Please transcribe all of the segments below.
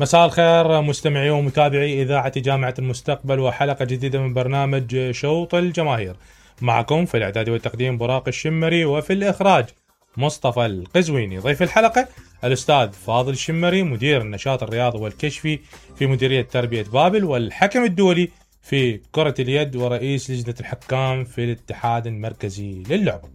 مساء الخير مستمعي ومتابعي إذاعة جامعة المستقبل، وحلقة جديدة من برنامج شوط الجماهير. معكم في الإعداد والتقديم براق الشمري، وفي الإخراج مصطفى القزويني. ضيف الحلقة الأستاذ فاضل الشمري، مدير النشاط الرياضي والكشفي في مديرية تربية بابل، والحكم الدولي في كرة اليد، ورئيس لجنة الحكام في الاتحاد المركزي للعبة.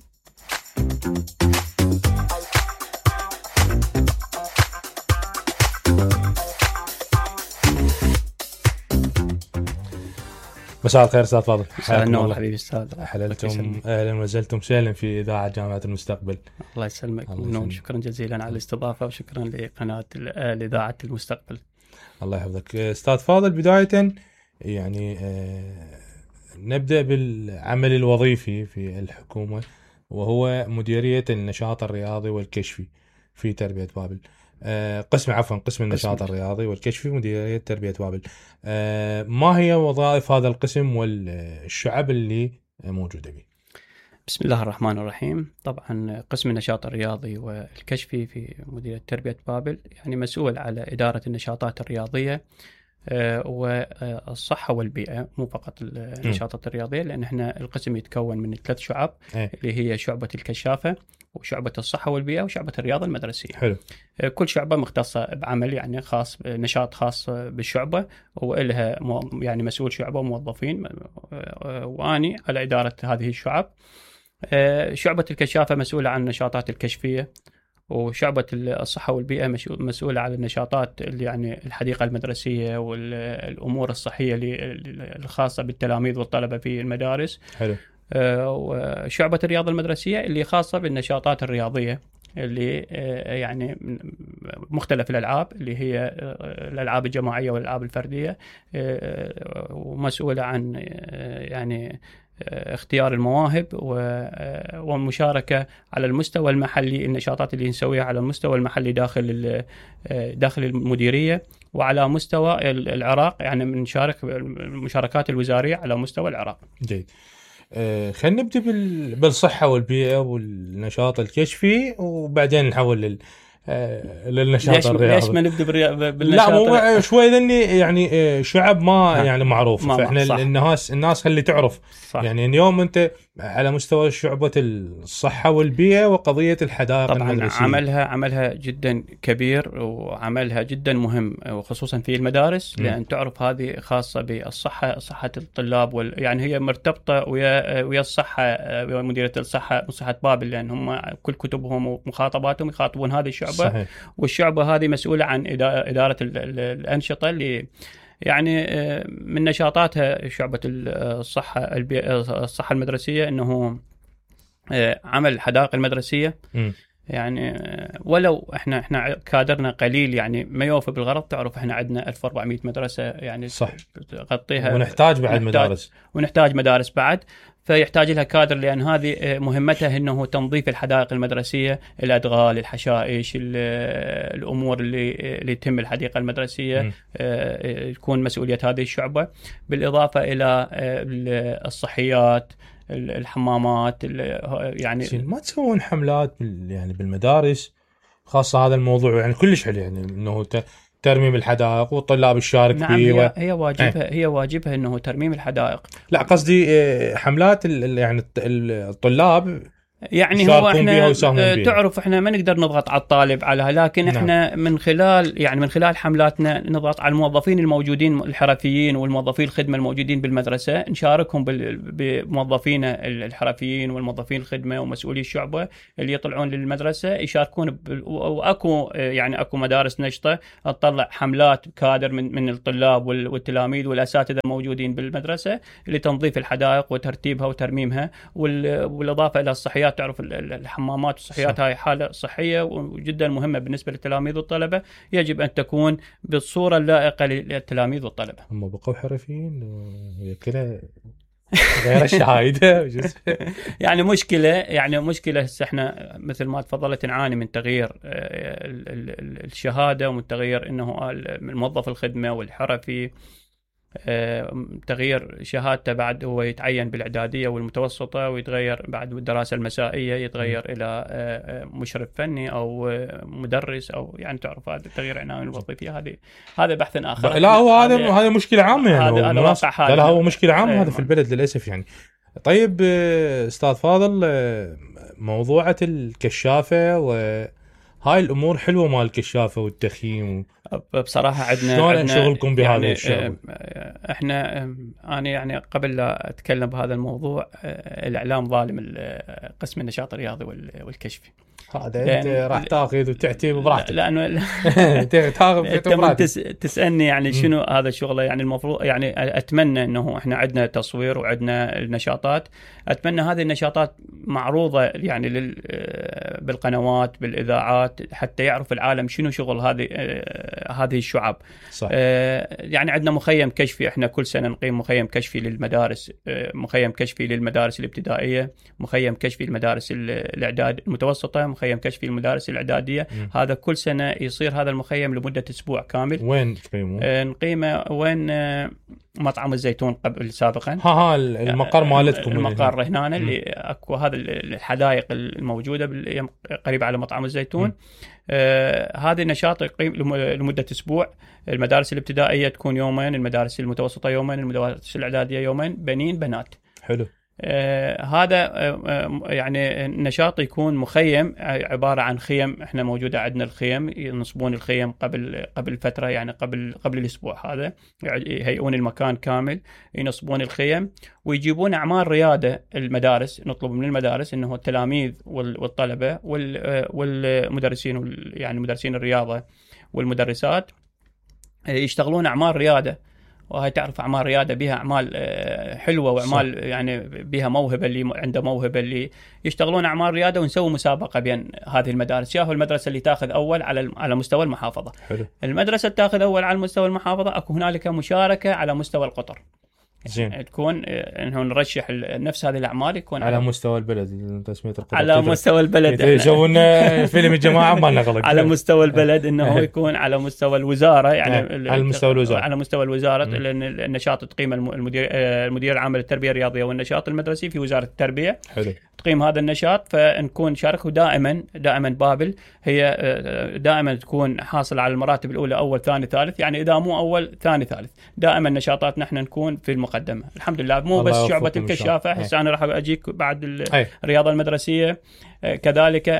مساء الخير استاذ فاضل. مساء النور حبيبي استاذ. حللتم اهلا وسهلتم سهلا في اذاعه جامعه المستقبل. الله يسلمك ونور، شكرا جزيلا على الاستضافه، وشكرا لقناه اذاعه المستقبل. الله يحفظك استاذ فاضل. بدايه يعني نبدا بالعمل الوظيفي في الحكومه، وهو مديريه النشاط الرياضي والكشفي في تربيه بابل. قسم النشاط الرياضي والكشفي مديرية تربية بابل. ما هي وظائف هذا القسم والشعب اللي موجودة به؟ بسم الله الرحمن الرحيم. طبعا قسم النشاط الرياضي والكشفي في مديرية تربية بابل يعني مسؤول على إدارة النشاطات الرياضية والصحة والبيئة، مو فقط النشاطات الرياضية، لأن احنا القسم يتكون من 3 شعب اللي هي شعبة الكشافة وشعبة الصحة والبيئة وشعبة الرياضة المدرسية. حلو. كل شعبة مختصة بعمل يعني خاص، نشاط خاص بالشعبة، وإلها يعني مسؤول شعبة وموظفين، وأني على إدارة هذه الشعب. شعبة الكشافة مسؤولة عن النشاطات الكشفية، وشعبة الصحة والبيئة مسؤولة على النشاطات اللي يعني الحديقة المدرسية والأمور الصحية الخاصة بالتلاميذ والطلبة في المدارس. حلو. وشعبة الرياضة المدرسية اللي خاصة بالنشاطات الرياضية اللي يعني مختلف الألعاب، اللي هي الألعاب الجماعية والألعاب الفردية، ومسؤولة عن يعني اختيار المواهب والمشاركة على المستوى المحلي، النشاطات اللي نسويها على المستوى المحلي داخل المديرية، وعلى مستوى العراق يعني بنشارك المشاركات الوزارية على مستوى العراق. جيد. خلينا نبدأ بالصحة والبيئة والنشاط الكشفي، وبعدين نحول للنشاط الرياضي. ليش ما نبدأ بالنشاط؟ لا مو شوي ذني يعني شعب ما يعني معروف، فإحنا الناس اللي تعرف صح. يعني اليوم أنت على مستوى شعبة الصحة والبيئة وقضية الحدائق المدرسية. طبعا عملها جدا كبير وعملها جدا مهم، وخصوصا في المدارس، لأن تعرف هذه خاصة بالصحة، صحة الطلاب، يعني هي مرتبطة ويا الصحة، مديرية الصحة صحة بابل، لأن هم كل كتبهم ومخاطباتهم يخاطبون هذه الشعبة. صحيح. والشعبة هذه مسؤولة عن إدارة الأنشطة اللي يعني من نشاطاتها شعبة الصحة المدرسية إنه عمل الحدائق المدرسية. يعني ولو احنا كادرنا قليل يعني ما يوفي بالغرض، تعرف احنا عندنا 1400 مدرسة يعني صح. تغطيها، ونحتاج بعد مدارس بعد، فيحتاج لها كادر، لأن هذه مهمتها إنه تنظيف الحدائق المدرسية، الأدغال، الحشائش، الأمور اللي تتم الحديقة المدرسية تكون مسؤولية هذه الشعبة، بالإضافة إلى الصحيات، الحمامات، يعني ما تسوون حملات يعني بالمدارس خاصة هذا الموضوع؟ يعني كلش حلو، يعني إنه ترميم الحدائق والطلاب الشارك فيه. هي واجبها انه ترميم الحدائق. لا قصدي حملات يعني الطلاب يعني هو احنا تعرف احنا ما نقدر نضغط على الطالب عليها، لكن احنا من خلال حملاتنا نضغط على الموظفين الموجودين الحرفيين والموظفين الخدمة الموجودين بالمدرسة، نشاركهم بموظفين الحرفيين والموظفين الخدمة ومسؤولي الشعبة اللي يطلعون للمدرسة يشاركون واكو مدارس نشطة تطلع حملات كادر من الطلاب والتلاميذ والاساتذة الموجودين بالمدرسة لتنظيف الحدائق وترتيبها وترميمها، والاضافة الى الصحيات. تعرف الحمامات والصحيات هاي حالة صحية وجدا مهمة بالنسبة للتلاميذ والطلبة، يجب أن تكون بالصورة اللائقة للتلاميذ والطلبة. هم بقوا حرفيين كده غير الشهايدة. يعني مشكلة هسه احنا مثل ما تفضلت نعاني من تغيير الشهادة، ومن تغيير انه الموظف الخدمة والحرفي تغيير شهادته بعد هو يتعين بالإعدادية والمتوسطة، ويتغير بعد بالدراسة المسائية يتغير إلى مشرف فني أو مدرس، أو يعني تعرف هذا التغيير العناوين الوظيفية. هذا بحث آخر. لا هو هذا مشكلة عامة يعني. هذا واقع حال. لا هو مشكلة عامة هذا في البلد للأسف يعني. طيب أستاذ فاضل، موضوعة الكشافة وهاي الأمور حلوة مال الكشافة والتخييم بصراحة عندنا شلون شغلكم بهذا يعني الشغل؟ احنا أنا يعني قبل لا أتكلم بهذا الموضوع، الإعلام ظالم قسم النشاط الرياضي والكشفي. هذا انت راح تاخذ وتعتي براحتك. لانه تاخذ تسالني يعني شنو هذا الشغله. يعني المفروض يعني اتمنى انه احنا عندنا تصوير وعندنا النشاطات، اتمنى هذه النشاطات معروضه يعني بالقنوات بالاذاعات حتى يعرف العالم شنو شغل هذه الشعب. صح. يعني عندنا مخيم كشفي، احنا كل سنه نقيم مخيم كشفي للمدارس، مخيم كشفي للمدارس الابتدائيه، مخيم كشفي للمدارس الاعداد المتوسطه، مخيم كشفي المدارس الإعدادية. هذا كل سنة يصير هذا المخيم لمدة أسبوع كامل. وين تقيمه؟ نقيمه وين؟ مطعم الزيتون قبل سابقا. المقر مالتكم. المقر هنا اللي أكو هذا الحدائق الموجودة قريبة على مطعم الزيتون. هذا النشاط يقيم لمدة أسبوع. المدارس الابتدائية تكون يومين، المدارس المتوسطة يومين، المدارس الإعدادية يومين، بنين بنات. حلو. هذا يعني النشاط يكون مخيم، عبارة عن خيم. احنا موجودة عندنا الخيم، ينصبون الخيم قبل فترة، يعني قبل الأسبوع هذا يهيئون المكان كامل، ينصبون الخيم ويجيبون أعمال ريادة المدارس. نطلب من المدارس إنه التلاميذ والطلبة والمدرسين، يعني مدرسين الرياضة والمدرسات يشتغلون أعمال ريادة. وهي تعرف أعمال ريادة بها أعمال حلوة، وأعمال صح. يعني بها موهبة، اللي عنده موهبة اللي يشتغلون أعمال ريادة، ونسوي مسابقة بين هذه المدارس. ياهو المدرسة اللي تأخذ أول على مستوى المحافظة. حلو. المدرسة تأخذ أول على مستوى المحافظة، أكو هنالك مشاركة على مستوى القطر. زين. تكون انه نرشح نفس هذه الاعمال، يكون على مستوى البلد. تسميه القطر على مستوى البلد. يسوون فيلم الجماعه ما لنا غلط. على مستوى البلد انه يكون على مستوى الوزاره، يعني على مستوى الوزاره. على مستوى الوزاره، لان النشاط تقيم المدير العام للتربيه الرياضيه والنشاط المدرسي في وزاره التربيه. حلو. تقيم هذا النشاط، فنكون شاركه دائما بابل هي دائما تكون حاصل على المراتب الاولى، اول ثاني ثالث، يعني اذا مو اول ثاني ثالث دائما نشاطاتنا احنا نكون في المقدمه الحمد لله. مو بس شعبه الكشافه، هسه انا راح اجيك بعد الرياضه المدرسيه. كذلك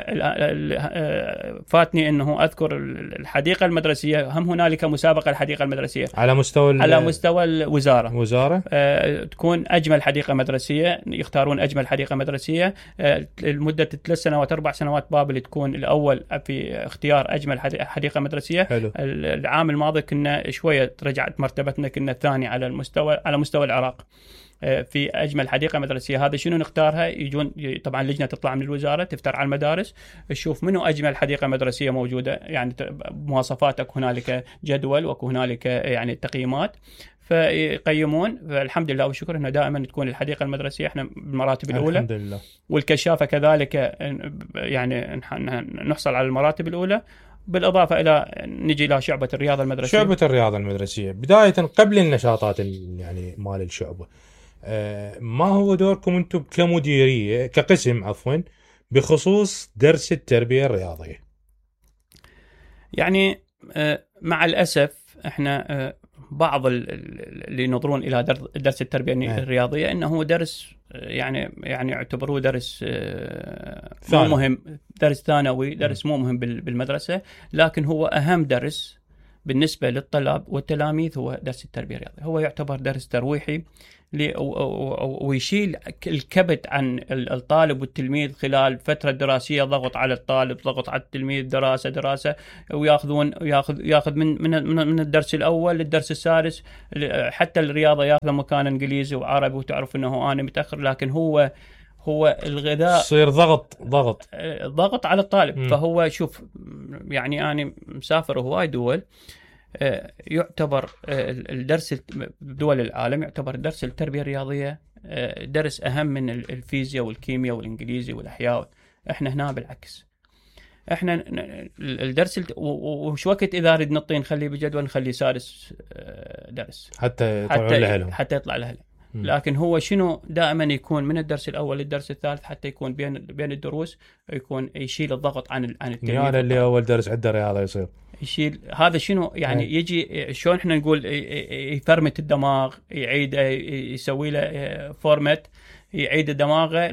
فاتني انه اذكر الحديقه المدرسيه، هم هنالك مسابقه الحديقه المدرسيه على مستوى الوزاره. تكون اجمل حديقه مدرسيه، يختارون اجمل حديقه مدرسيه لمده 3 سنوات 4 سنوات. بابل تكون الاول في اختيار اجمل حديقه مدرسيه. حلو. العام الماضي كنا شويه رجعت مرتبتنا، كنا الثاني على مستوى العراق في أجمل حديقة مدرسية. هذا شنو نختارها؟ يجون طبعا لجنة تطلع من الوزارة تفتر على المدارس، تشوف منو أجمل حديقة مدرسية موجودة، يعني مواصفاتك هنالك جدول وهنالك يعني تقييمات، فيقيمون. فالحمد لله والشكر انه دائما تكون الحديقه المدرسيه احنا بالمراتب الاولى الحمد لله. والكشافه كذلك يعني نحصل على المراتب الاولى. بالإضافة إلى نجي إلى شعبة الرياضة المدرسية. شعبة الرياضة المدرسية بداية قبل النشاطات يعني مال الشعبة، ما هو دوركم أنتم كمديرية كقسم بخصوص درس التربية الرياضية؟ يعني مع الأسف إحنا بعض اللي ينظرون إلى درس التربية الرياضية إنه درس يعني يعتبروه درس مو مهم، درس ثانوي، درس مو مهم بالمدرسة، لكن هو أهم درس بالنسبة للطلاب والتلاميذ هو درس التربية الرياضية. هو يعتبر درس ترويحي ويشيل الكبت عن الطالب والتلميذ خلال فترة دراسية، ضغط على الطالب، ضغط على التلميذ، دراسة، وياخذ من الدرس الأول للدرس السادس. حتى الرياضة ياخذ مكان إنجليزي وعربي، وتعرف إنه أنا متأخر، لكن هو الغذاء يصير ضغط على الطالب. فهو شوف، يعني أنا مسافر هواي دول، يعتبر الدرس دول العالم يعتبر درس التربية الرياضية درس أهم من الفيزياء والكيمياء والإنجليزي والأحياء. إحنا هنا بالعكس، احنا الدرس وش وقت اذا اريد نطي نخليه بجدول نخليه سادس درس حتى يطلع له. لكن هو شنو دائما يكون من الدرس الاول للدرس الثالث حتى يكون بين الدروس يكون يشيل الضغط عن التلميذ. يعني اللي اول درس عنده رياضه يصير يشيل هذا شنو يعني يجي شلون احنا نقول يفرمت الدماغ، يعيد يسوي له فورمات، يعيد دماغه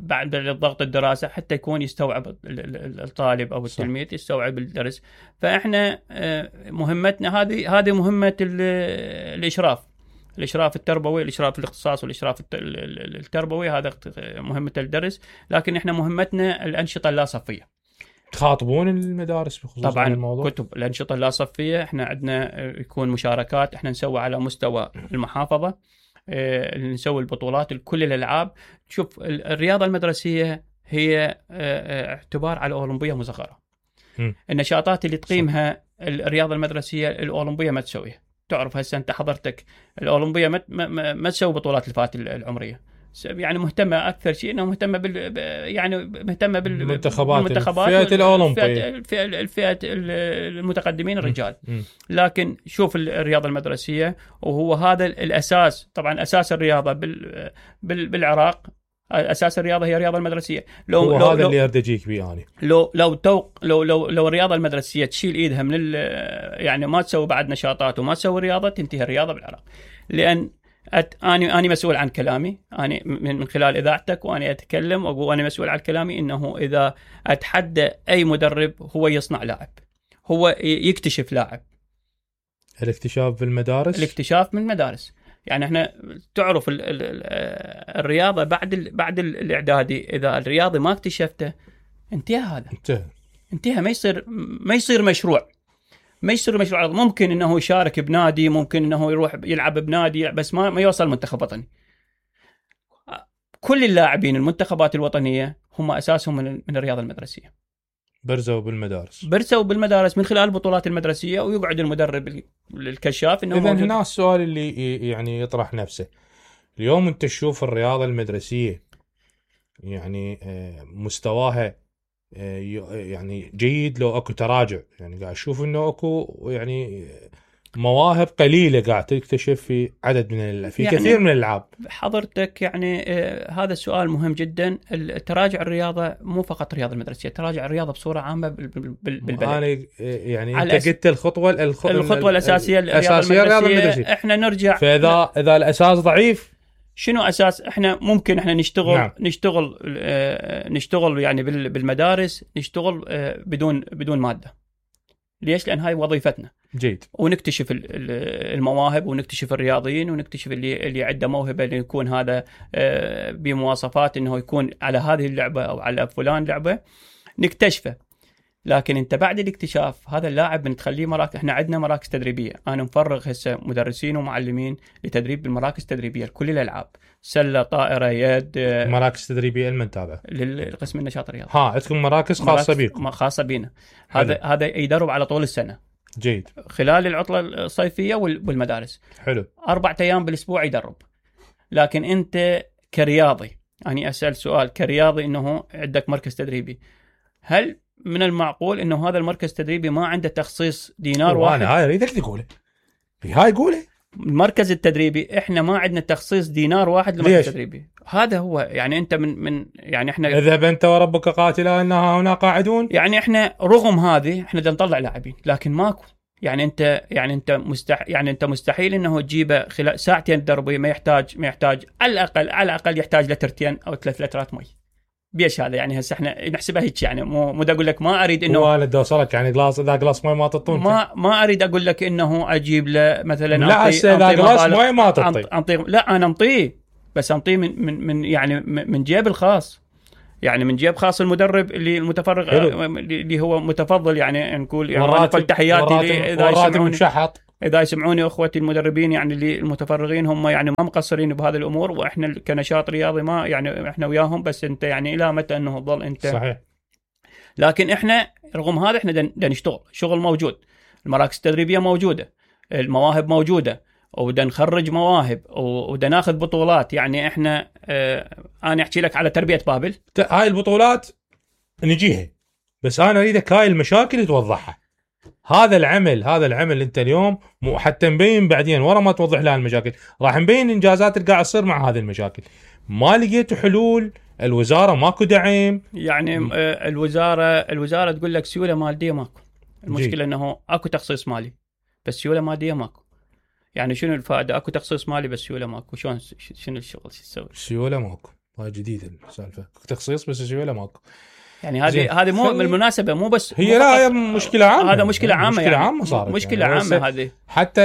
بعد الضغط الدراسه حتى يكون يستوعب الطالب او التلميذ يستوعب الدرس. فاحنا مهمتنا هذه مهمه الاشراف التربوي، الاشراف الاختصاص والاشراف التربوي، هذا مهمه الدرس. لكن احنا مهمتنا الانشطه اللا صفيه. تخاطبون المدارس بخصوص طبعا الموضوع؟ كتب الانشطه اللا صفيه احنا عندنا يكون مشاركات، احنا نسوي على مستوى المحافظه، نسوي البطولات لكل الالعاب. شوف الرياضه المدرسيه هي اعتبار على الاولمبيه مصغره. النشاطات اللي تقيمها الرياضه المدرسيه الاولمبيه ما تسويها. تعرف هسه انت حضرتك الاولمبيه ما تسوي بطولات الفئات العمريه، يعني مهتمه اكثر شيء انه مهتمه بالمنتخبات الفئه الاولمبيه، الفئه المتقدمين الرجال. لكن شوف الرياضه المدرسيه وهو هذا الاساس. طبعا اساس الرياضه بالعراق، اساس الرياضه هي الرياضه المدرسيه. لو هذا اللي ارتجيك بيه يعني. لو الرياضه المدرسيه تشيل ايدها من يعني ما تسوي بعد نشاطات وما تسوي رياضه، تنتهي الرياضه بالعراق. لان أنا مسؤول عن كلامي، أنا من خلال إذاعتك وأنا أتكلم وأنا مسؤول عن كلامي، إنه إذا أتحدى أي مدرب هو يصنع لاعب، هو يكتشف لاعب. الاكتشاف بالمدارس، الاكتشاف من المدارس. يعني احنا تعرف الرياضة بعد الإعدادي، إذا الرياضي ما اكتشفته انتهى هذا، انتهى ما يصير مشروع. ممكن انه يشارك بنادي، ممكن انه يروح يلعب بنادي، بس ما يوصل منتخب وطني. كل اللاعبين المنتخبات الوطنية هم اساسهم من الرياضة المدرسية. برزوا بالمدارس من خلال البطولات المدرسية، ويقعد المدرب الكشاف انه إذن هنا السؤال اللي يعني يطرح نفسه اليوم، انت تشوف الرياضة المدرسية يعني مستواها يعني جيد لو اكو تراجع؟ يعني قاعد اشوف انه اكو يعني مواهب قليله قاعد تكتشف في عدد في يعني كثير من الالعاب. حضرتك يعني هذا السؤال مهم جدا. تراجع الرياضه مو فقط الرياضه المدرسيه، تراجع الرياضه بصوره عامه بالبلد. انا يعني انت قلت الخطوه الاساسيه الرياضه المدرسيه. احنا نرجع، فاذا الاساس ضعيف شنو اساس؟ احنا ممكن احنا نشتغل يعني بالمدارس، نشتغل بدون ماده. ليش؟ لان هاي وظيفتنا. جيد. ونكتشف المواهب، ونكتشف الرياضيين، ونكتشف اللي عنده موهبه، اللي يكون هذا بمواصفات انه يكون على هذه اللعبه او على فلان لعبه، نكتشفه. لكن انت بعد الاكتشاف هذا اللاعب بنخليه مراكز. احنا عندنا مراكز تدريبيه، انا مفرغ هسه مدرسين ومعلمين لتدريب بالمراكز التدريبيه لكل الالعاب، سله، طائره، يد. مراكز تدريبيه لمن تابع؟ للقسم النشاط الرياضي. عندكم مراكز خاصه بيكم؟ خاصه بينا. هذا يدرب على طول السنه. جيد. خلال العطله الصيفيه والمدارس. حلو. 4 أيام بالاسبوع يدرب. لكن انت كرياضي، اني اسال سؤال كرياضي، انه عندك مركز تدريبي، هل من المعقول انه هذا المركز التدريبي ما عنده تخصيص دينار واحد؟ هاي اريدك تقوله، هاي قوله. المركز التدريبي احنا ما عندنا تخصيص دينار واحد للمركز التدريبي. هذا هو يعني انت من يعني احنا اذهب انت وربك قاتلا انها هنا قاعدون. يعني احنا رغم هذه احنا بدنا نطلع لاعبين، لكن ماكو. يعني انت مستحيل انه تجيبه خلال ساعتين دربي. ما يحتاج على الاقل يحتاج لترتين او 3 لترات مي. بيش هذا يعني هسه احنا نحسبها هيك، يعني مو اقول لك ما اريد انه والله دوصلك يعني جلاس مي ما تطون. ما اريد اقول لك انه اجيب له مثلا لا اذا جلاس مي ما تعطي. لا انا انطيه، بس انطيه من يعني من جيب الخاص، يعني من جيب خاص المدرب اللي المتفرغ اللي هو متفضل. يعني نقول يعني تحياتي اذا يسمعوني اخوتي المدربين، يعني اللي المتفرغين هم يعني ما مقصرين بهذه الامور، واحنا كنشاط رياضي ما يعني احنا وياهم. بس انت يعني الى متى انه تظل انت؟ صحيح. لكن احنا رغم هذا احنا بدنا نشتغل، شغل موجود، المراكز التدريبيه موجوده، المواهب موجوده، وبدنا نخرج مواهب، وبدنا ناخذ بطولات. يعني احنا انا احكي لك على تربيه بابل. هاي البطولات نجيها بس انا اريدك هاي المشاكل توضحها. هذا العمل انت اليوم مو حتى نبين بعدين ورا ما توضح لها المشاكل، راح نبين انجازات اللي قاعد تصير مع هذه المشاكل. ما لقيتوا حلول؟ الوزاره ماكو دعم؟ يعني الوزاره تقول لك سيوله ماليه ماكو. المشكله انه اكو تخصيص مالي بس سيوله ماليه ماكو. يعني شنو الفائده؟ اكو تخصيص مالي بس سيوله ماكو. شلون شنو الشغل شو تسوي؟ سيوله ماكو، هاي جديده السالفه، تخصيص بس سيوله ماكو. يعني هذه مو بالمناسبه مو بس هي لا هي مشكله عامه. هذا مشكله عامه، مشكله يعني عامه صارت، مشكله يعني عامه هذه. حتى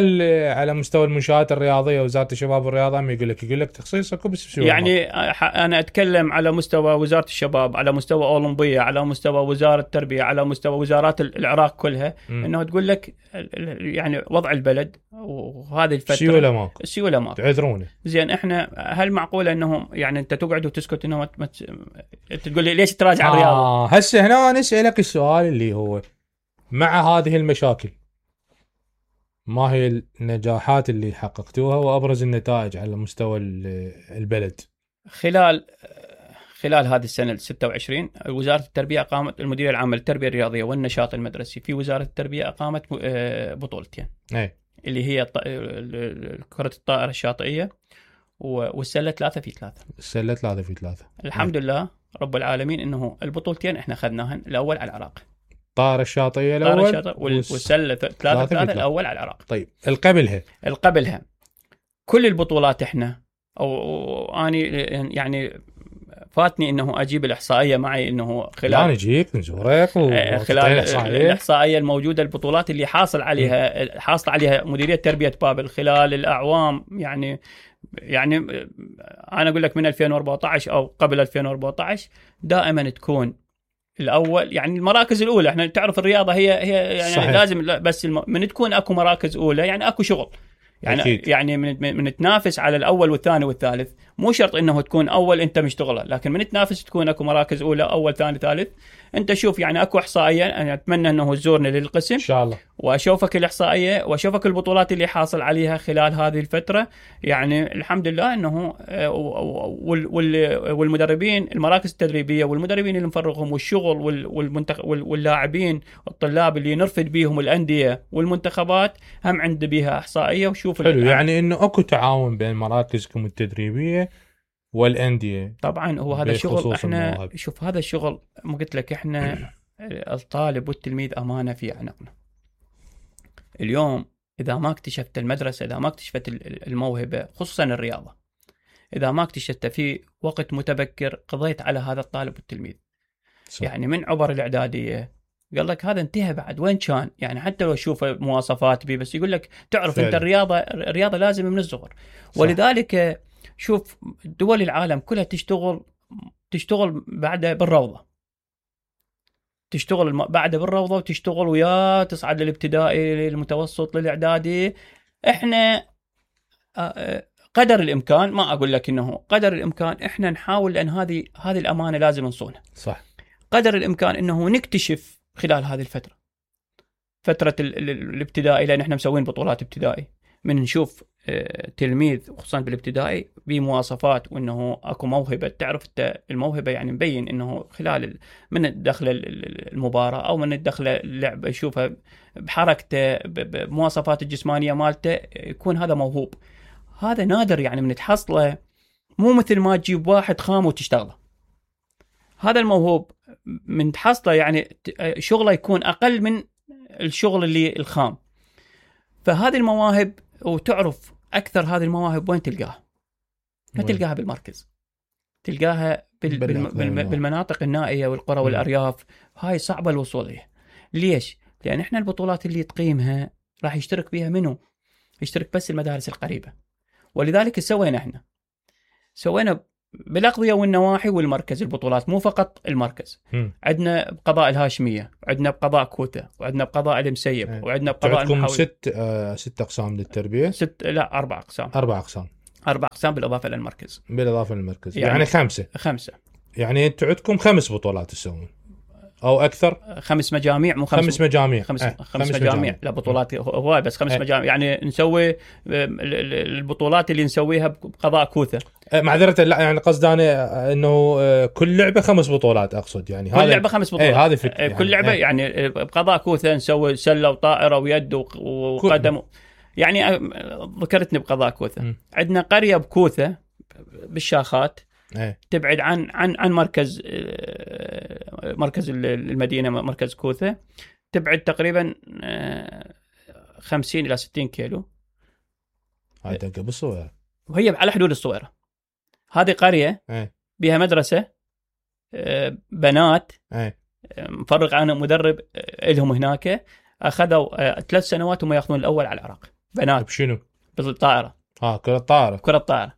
على مستوى المنشآت الرياضيه وزاره الشباب والرياضه ما يقول لك تخصيص اكو بس سيوله يعني ماكو. انا اتكلم على مستوى وزاره الشباب، على مستوى اولمبيه، على مستوى وزاره التربيه، على مستوى وزارات العراق كلها، انه تقول لك يعني وضع البلد وهذه الفتره سيوله ماكو تعذرونه. زين احنا هل معقوله انه يعني انت تقعد وتسكت انه تقول لي ليش تراجع الرياضه؟ هسه هنا نسالك السؤال اللي هو مع هذه المشاكل ما هي النجاحات اللي حققتوها وابرز النتائج على مستوى البلد؟ خلال هذه السنه 26 وزاره التربيه اقامت المديريه العامه للتربيه الرياضيه والنشاط المدرسي في وزاره التربيه اقامت بطولتين، اللي هي كره الطائره الشاطئيه والسله 3 في 3. الحمد لله رب العالمين انه البطولتين احنا اخذناهن. الاول على العراق، الطائره الشاطئيه الاول، والسله 3 في 3 الاول على العراق. طيب القبلها كل البطولات احنا اني يعني فاتني انه اجيب الاحصائيه معي، انه خلال انا اجيك نزورك خلال الاحصائيه الموجوده، البطولات اللي حاصل عليها مديريه تربيه بابل خلال الاعوام، يعني انا اقول لك من 2014 او قبل 2014 دائما تكون الاول. يعني المراكز الاولى، احنا تعرف الرياضه هي يعني صحيح. لازم بس من تكون اكو مراكز اولى يعني اكو شغل، يعني أكيد. يعني من تنافس على الاول والثاني والثالث. مو شرط انه تكون اول انت مشتغله، لكن من تنافس تكون اكو مراكز اولى اول ثاني ثالث. انت شوف يعني اكو احصائيه، انا اتمنى انه تزورني للقسم ان شاء الله واشوفك الاحصائيه واشوفك البطولات اللي حاصل عليها خلال هذه الفتره. يعني الحمد لله انه والمدربين المراكز التدريبيه والمدربين اللي نفرغهم والشغل واللاعبين والطلاب اللي نرفد بيهم الانديه والمنتخبات هم عند بيها احصائيه. وشوف حلو يعني انه اكو تعاون بين مراكزكم التدريبيه والانديه. طبعا هو هذا الشغل احنا المواهب. شوف هذا الشغل ما قلت لك احنا الطالب والتلميذ امانه في عنقنا. اليوم اذا ما اكتشفت المدرسه، اذا ما اكتشفت الموهبه خصوصا الرياضه، اذا ما اكتشفتها في وقت متبكر قضيت على هذا الطالب والتلميذ. صح. يعني من عبر الاعداديه قال لك هذا انتهى بعد وين كان، يعني حتى لو اشوف مواصفات بي بس يقول لك تعرف فعلا. انت الرياضه لازم من الصغر. ولذلك شوف دول العالم كلها تشتغل بعد بالروضه، تشتغل بعد بالروضه وتشتغل ويا تصعد للابتدائي للمتوسط للاعدادي. احنا قدر الامكان، ما اقول لك انه قدر الامكان احنا نحاول، لان هذه الامانه لازم نصونها. صح. قدر الامكان انه نكتشف خلال هذه فتره الابتدائي، لان احنا مسوين بطولات ابتدائي، من نشوف تلميذ خصوصا بالابتدائي بمواصفات وانه اكو موهبه. تعرف انت الموهبه يعني مبين انه خلال من الدخله المباراه او من الدخله اللعبه يشوفها بحركته بمواصفات الجسمانيه مالته يكون هذا موهوب. هذا نادر يعني من تحصله، مو مثل ما تجيب واحد خام وتشتغله. هذا الموهوب من تحصله يعني شغله يكون اقل من الشغل اللي الخام. فهذه المواهب، وتعرف أكثر هذه المواهب وين تلقاها؟ ما تلقاها بالمركز، تلقاها بالمناطق النائية والقرى والأرياف. هاي صعبة الوصول لها. ليش؟ لأن إحنا البطولات اللي تقيمها راح يشترك بها منو؟ يشترك بس المدارس القريبة. ولذلك سوينا بالأقضية والنواحي والمركز البطولات، مو فقط المركز. عندنا بقضاء الهاشمية، وعندنا بقضاء كوتا، وعندنا بقضاء المسيب، وعندنا بقضاء المحاولة. ست أقسام للتربية؟ 4 أقسام. 4 أقسام بالإضافة للمركز. يعني 5. يعني أنتوا عندكم 5 بطولات تسوون او اكثر؟ 5 مجاميع، مو 5 مجاميع. 5 مجاميع. لا بطولات هواي، بس 5 مجاميع. يعني نسوي البطولات اللي نسويها بقضاء كوثه. معذره، لا يعني قصدي انا انه كل لعبه 5 بطولات اقصد، يعني كل لعبه 5 بطولات. هذه فكره يعني. كل لعبه يعني بقضاء كوثه نسوي سله وطائره ويد وقدم. يعني ذكرتني بقضاء كوثه. عندنا قريه بكوثه بالشاخات، تبعد عن مركز المدينه، مركز كوثه، تبعد تقريبا 50 الى 60 كيلو. هاي دقه بالصويره، وهي على حدود الصويره. هذه قريه بها مدرسه بنات، مفرغ عنهم مدرب لهم هناك. اخذوا 3 سنوات وما ياخذون الاول على العراق. بنات بشنو؟ بالطائره. كره الطائره. كره الطائره.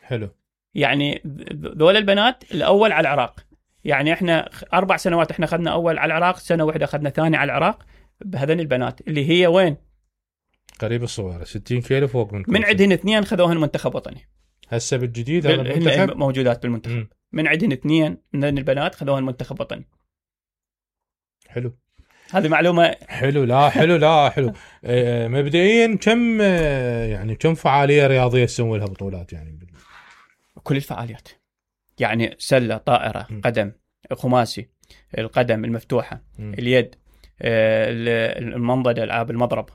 حلو. يعني ذول البنات الاول على العراق. يعني احنا 4 سنوات احنا اخذنا اول على العراق، سنه واحده اخذنا ثاني على العراق بهذين البنات اللي هي وين؟ قريب الصويره، 60 كيلو فوق من عندهن 2 خذوهن منتخب وطني. هسه بالجديد هذا المنتخب موجودات بالمنتخب. من عندهن 2 من البنات خذوهن منتخب وطني. حلو. هذه معلومه. حلو. لا حلو. لا حلو. مبدئيا كم فعاليه رياضيه تسوي لها بطولات يعني؟ كل الفعاليات، يعني سله، طائره، قدم، خماسي، القدم المفتوحه، اليد، المنضده، العاب المضرب،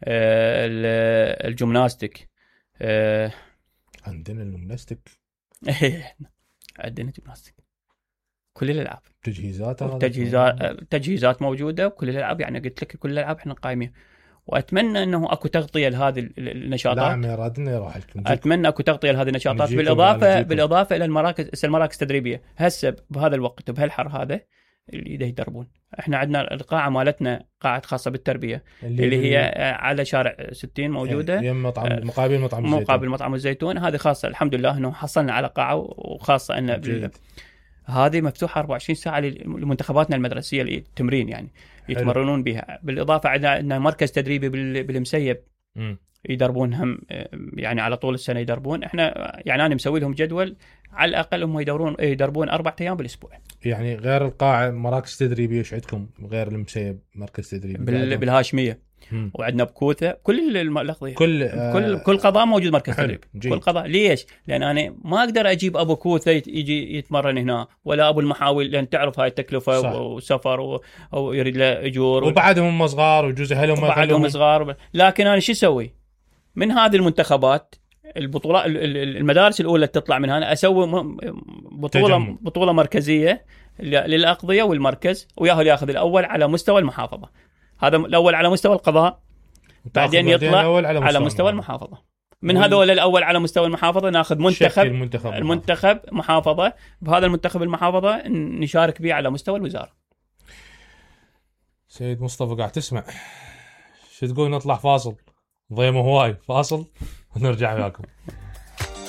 الجمناستيك. عندنا الجمناستيك. عندنا جمناستيك. كل الالعاب، تجهيزات موجوده، وكل الالعاب. يعني قلت لك كل الالعاب احنا قايمين. واتمنى انه اكو تغطيه لهذه النشاطات. نعم، رادنا يروح لكم. اتمنى اكو تغطيه لهذه النشاطات، بالاضافه الى المراكز التدريبيه. هسه بهذا الوقت وبهالحر هذا اللي يدربون. احنا عندنا القاعه مالتنا قاعه خاصه بالتربيه اللي هي على شارع 60 موجوده، مقابل مطعم الزيتون. هذه خاصه، الحمد لله انه حصلنا على قاعه، وخاصه ان هذه مفتوحه 24 ساعه لمنتخباتنا المدرسيه للتمرين، يعني يتمرنون بها. بالاضافه عندنا مركز تدريبي بالمسيب يدربون هم، يعني على طول السنه يدربون. احنا يعني انا مسوي لهم جدول على الاقل هم يدربون 4 ايام بالاسبوع. يعني غير القاعه مراكز تدريبيه ايش عندكم غير المسيب؟ مركز تدريبي بالهاشميه، وعندنا بكوثه. كل الاقضيه، كل قضاء موجود مركز تدريب. كل قضاء. ليش؟ لان انا ما اقدر اجيب ابو كوثه يجي يتمرن هنا، ولا ابو المحاول، لان تعرف هاي التكلفه. صح. وسفر او يريد له اجور، وبعدهم صغار وجزء اهلهم صغار. لكن انا شو اسوي من هذه المنتخبات؟ البطولات، المدارس الاولى تطلع من هنا، اسوي بطوله مركزيه للاقضيه والمركز، وياهل ياخذ الاول على مستوى المحافظه. هذا الاول على مستوى القضاء، بعدين يطلع على مستوى المحافظه. من هذول الاول على مستوى المحافظه ناخذ المنتخب محافظه. بهذا المنتخب المحافظه نشارك به على مستوى الوزاره. سيد مصطفى قاعد تسمع شو تقول؟ نطلع فاصل، ضيمه هواي، فاصل ونرجع وياكم.